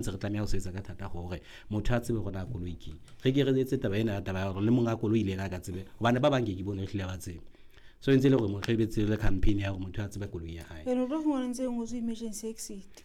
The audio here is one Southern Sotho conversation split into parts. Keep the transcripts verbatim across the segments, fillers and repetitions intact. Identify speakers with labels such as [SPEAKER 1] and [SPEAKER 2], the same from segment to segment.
[SPEAKER 1] Ntse re tlameha ho sebetsa ka thata hore motho a tsebe hore na koloi ke re ke re etse taba ena ya taba ya hore le monga koloi le yena a ka tsebe, hobane ba bang ke ke bone ehlile ba tsebe. So e ntse e le hore motho e be tsebe le campaign ya hore motho a tsebe koloi ya hae.
[SPEAKER 2] Ene o tlo fumana ntse e ngotswe emergency exit,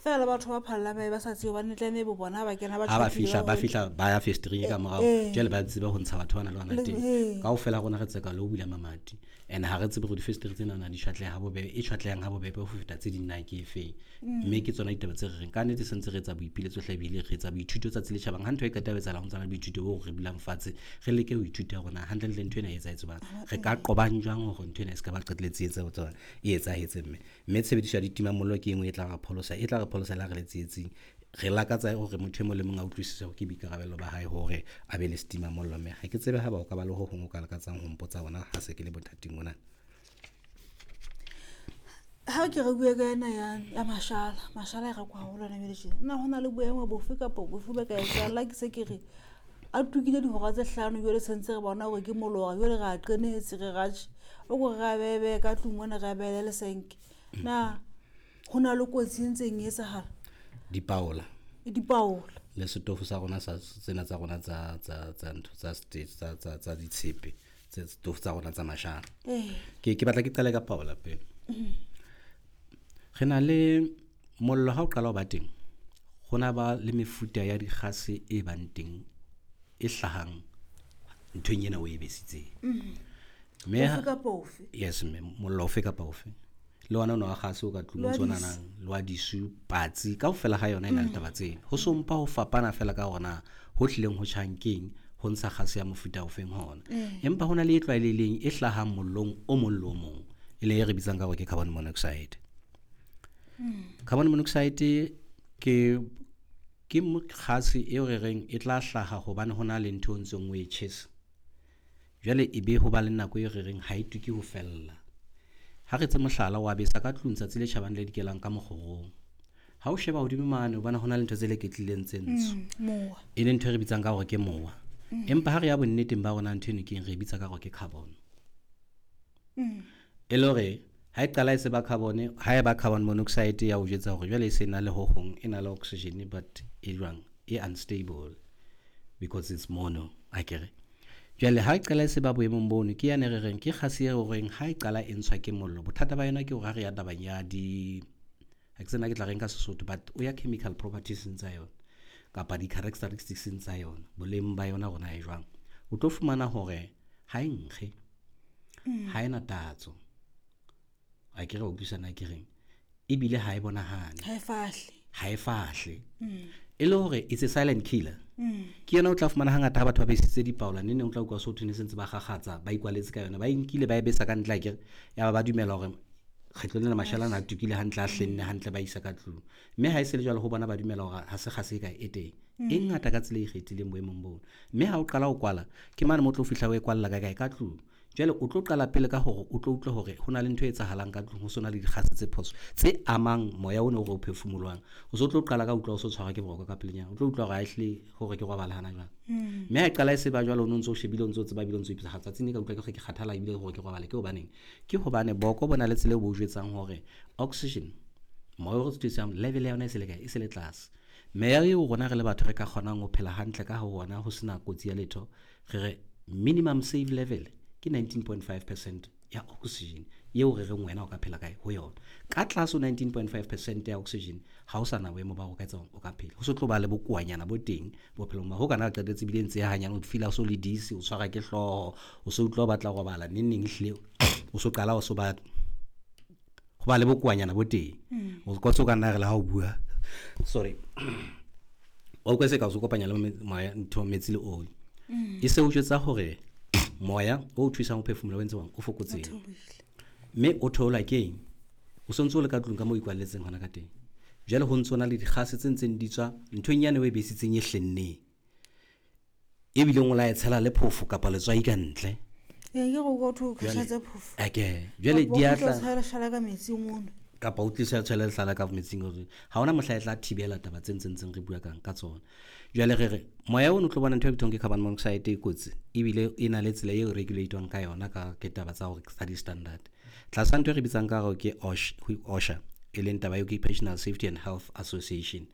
[SPEAKER 2] fela le batho ba phallang ba be ba sa tsebe hobane tlameha bo bona ha ba kena ba
[SPEAKER 1] ha ba
[SPEAKER 2] tjhakile
[SPEAKER 1] fihla ba
[SPEAKER 2] ba
[SPEAKER 1] fihla ba ya festereng e ka morao,
[SPEAKER 2] Eh.
[SPEAKER 1] jwale ba tsebe ho ntsha batho bana le bana
[SPEAKER 2] Le-
[SPEAKER 1] teng.
[SPEAKER 2] eh.
[SPEAKER 1] Kaofela rona re tseka le ho bula mamati, and ha re tsebe hore difestere tsena na di tjhwatleha ha bobebe, e tjhwatlehang ha bobebe ho feta tse ding na ke efeng. Mme ke tsona ditaba tse re reng ka nnete se ntse re etsa boipiletso hle, ebile re etsa boithuto tsatsi le tjhabang. Ha ntho e qeta ho etsahala ho ntsana le boithuto bo re dulang fatshe re leke ho ithuta hore na hantlentle ntho ena e etsahetse jwang, re ka qobang jwang hore ntho ena e se ka ba qetelletse e etsa ho e etsahetse. Mme mme tshebediso ya ditimamollo ke e nngwe e tla re pholosa, e tla re pholosa le ha re le tsietsing. Re lakatsa hore motho e mong le mong a utlwisise hore ke boikarabelo ba hae hore a be le setimamollo. Mme ha ke tsebe ha ba o ka ba le ho hong o ka lakatsang ho mpotsa hona ha se ke le bothating mona.
[SPEAKER 2] Ha ke re bue ka ena ya ya mashala, mashala e rekwa haholo hona jwale tjena. Na hona le boemo bofe kapa bofe bo ka etsahalang? Le ha ke se ke re a tukile dihora tse hlano jwale sentse re bona hore ke molora, jwale re a qenehetse re ratjhe, o ko re re a behe ka tlung mona, re a behele lesenke. Na ho na le kotsi e ntseng e etsahala?
[SPEAKER 1] Dipaola.
[SPEAKER 2] Dipaola.
[SPEAKER 1] Le setofo sa rona sa tsena tsa rona tsa tsa tsa ntho tsa state tsa tsa tsa ditshepe, tse setofo tsa rona tsa mashala.
[SPEAKER 2] Eh.
[SPEAKER 1] Ke ke batla ke qale ka paola pele. Re na le mollo ha o qala ho ba teng, ho na ba le mefuta ya dikgase e bang teng e hlahang nthong ena o e besitseng. Mme
[SPEAKER 2] Ofe
[SPEAKER 1] ha-
[SPEAKER 2] kapa ofe?
[SPEAKER 1] Yes mme, mollo ofe kapa ofe. Le ona ona wa kgase o ka tlung
[SPEAKER 2] Le wa
[SPEAKER 1] o ntso
[SPEAKER 2] disu.
[SPEAKER 1] nanang, le wa disu, patsi, kaofela ha yona e na le taba tseno. Ho so mpa ho fapana fela ka hore na ho hlileng ho tjhang keng, ho ntsha kgase ya mofuta ofeng hona. Empa hona le e tlwaelehileng e hlahang mollong o mong le o mong, e leng e re bitsang ka hore ke carbon monoxide. Carbon monoxide ke ke kgase eo re reng e tla hlaha hobane hona le ntho o ntseng o e tjhesa. Jwale e be ho ba le nako e re reng ha e tuke ho fella. Ha re tse mohlala wa besa ka tlung tsatsi le tjhabang le dikelang ka mokgorong. Ha o sheba hodimo mane o bona hona le ntho tse leketlileng tse ntsho.
[SPEAKER 2] Mm, mowa.
[SPEAKER 1] E leng ntho e re bitsang ka hore ke mowa. Empa ha re ya bonneteng ba rona ntho eno ke eng, re e bitsa ka hore ke carbon. E le hore ha e qala e se ba carbon, ha e ba carbon monoxide ya o jwetsa hore jwale e se na le ho hong, e na le oxygen but e jwang, e unstable because it's mono, akere. Jwale ha e qala e se ba boemong bono, ke yane re reng ke kgase e reng ha e qala e ntshwa ke mollo. Bothata ba yona ke hore ha re ya tabeng ya di, ha ke tsena ke tla reng ka Sesotho, but o ya chemical properties tsa yona kapa di characteristics tsa yona, boleng ba yona hore na e jwang. O tlo fumana hore ha e nkge, ha ena tatso. Ha ke re o utlwisisa na ke reng, ebile ha e bonahale.
[SPEAKER 2] Ha e fahle.
[SPEAKER 1] Ha e fahle. E le hore it's a silent killer. Ke yona o tla fumana hangata ha batho ba besitse dipaola, neng neng o tla utlwa so thwe ne se ntse ba kgakgatsa, ba ikwaletse ka yona, ba e nkile ba e besa ka ntle akere, ya ba ba dumela hore kgetlo lena mashala ana a tukile hantle, a hlenne hantle, ba isa ka tlung. Mme ha e se le jwalo ho bona ba dumela hore ha se kgase e kae e teng. E ngata ka tsela e ikgethileng boemong bono. Mme ha o qala ho kwala, ke mane mo tlo fihla o e kwalla ka kae, ka tlung. Jwale o tlo qala pele ka hore o tlo utlwa hore ho na le ntho e etsahalang ka tlung, ho sona le dikgase tse phoso tse amang moya ona o re o phefumoloang. O so tlo qala ka utlwa o so tshwarwa ke boroko ka pelenyana, o tlo utlwa hore ha ehlile hore ke robala hana jwang. Mme ha e qala e se ba jwalo, o no ntso o shebile, o ntso tseba ebile o ntso ipotsa, ha tsatsing le ka utlwa ke re ke kgathala ebile hore ke robale, ke hobaneng? Ke hobane boko bo na le tsela eo bo o jwetsang hore oxygen, moya o re thusang, level ya yona e se le kae, e se le tlase. Meya eo rona re le batho re ka kgonang ho phela hantle ka ho ona ho sena kotsi ya letho, re re minimum safe level ke nineteen point five percent ya oxygen eo re reng wena o ka phela kae ho yona. Ka tlase ho nineteen point five percent ya oxygen ha o sa na boemo ba hore o ka etsa o ka phela. Ho so tlo ba le bokoanyana bo teng bophelong ba ho kana qetetse ebile ntse ya hanyane, o feel-a o so le dizzy, o tshwara ke hlooho, o so utlwa o batla ho robala neng neng ehlile o so qala o so ba ho ba le bokoanyana bo teng. O ka so ka nna re le ha o bua, sorry, o utlwa se ka o so kopanya le moya ntho metsi le oli. E se o jwetsa hore moya o thusang ho phefumoloha o entse jwang, o fokotsehe. Mme o theolwa ke eng? O sontso o le ka tlung ka moo o ikwalletseng hona ka teng. Jwale ho ntso na le dikgase tse ntseng di tswa nthong yane o e besitseng e hlenneng, ebileng o la e tshela le phofo kapa letswai ka ntle.
[SPEAKER 2] Ee, ke re o tho
[SPEAKER 1] Jwale,
[SPEAKER 2] kgahlatse phofo.
[SPEAKER 1] ake, jwale
[SPEAKER 2] Kapa
[SPEAKER 1] di
[SPEAKER 2] o
[SPEAKER 1] a
[SPEAKER 2] tlo
[SPEAKER 1] tla
[SPEAKER 2] tshela leshala ka metsing ono.
[SPEAKER 1] Kapa o tlisa tshela leshala ka metsing ono. Ha hona mohla e tla thibela taba tse ntseng ntseng re bua kang ka tsona. Jwale re re moya ono o tlo bona ntho e bitswang ke carbon monoxide e kotsi, ebile e na le tsela eo regulate-wang ka yona ka ke taba tsa hore tsa di-standard. Tlasa ntho e re bitsang ka hore ke OSHA, OSHA, e leng taba ya Occupational Safety and Health Association.